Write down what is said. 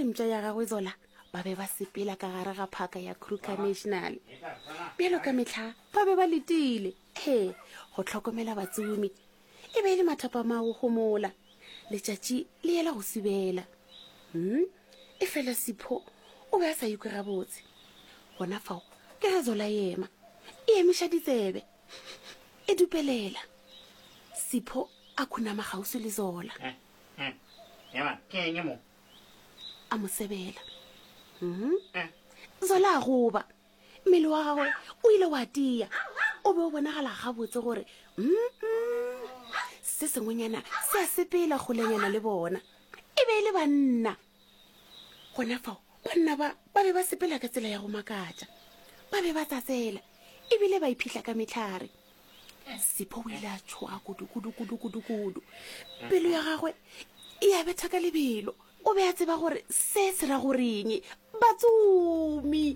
le mpša ya gagwe Zola ba be ba sepela ka gare ga phaka ya Kruger National. Bjalo ka mehla ba be ba letile, ee, go hlokomela batsomi. E be e le mathapama a go homola, letšatši le yela go subela. Hmm, efela Sipho o be a sa ikwe gabotse. Gona fao ke ge Zola e ema, e emiša ditsebe, e dupelela. Sipho a khunama kgauswi le Zola. Eh, eh, ema, ke eng mo? A mo sebela. Hmm. Zola a goba. Mmele wa gagwe o ile wa tia. O be o bonagala gabotse gore mm, se sengwenyana se a sepela kgolenyana le bona. E be e le banna. Gona fao banna ba ba be ba sepela ka tsela ya go makatša. Ba be ba tsatsela ebile ba iphihla ka mehlare. Sipho o ile a tšhoga kudu kudu kudu kudu kudu. Pelo ya gagwe e ya betha ka lebelo. O be a tseba gore se se ra goreng. Batsomi!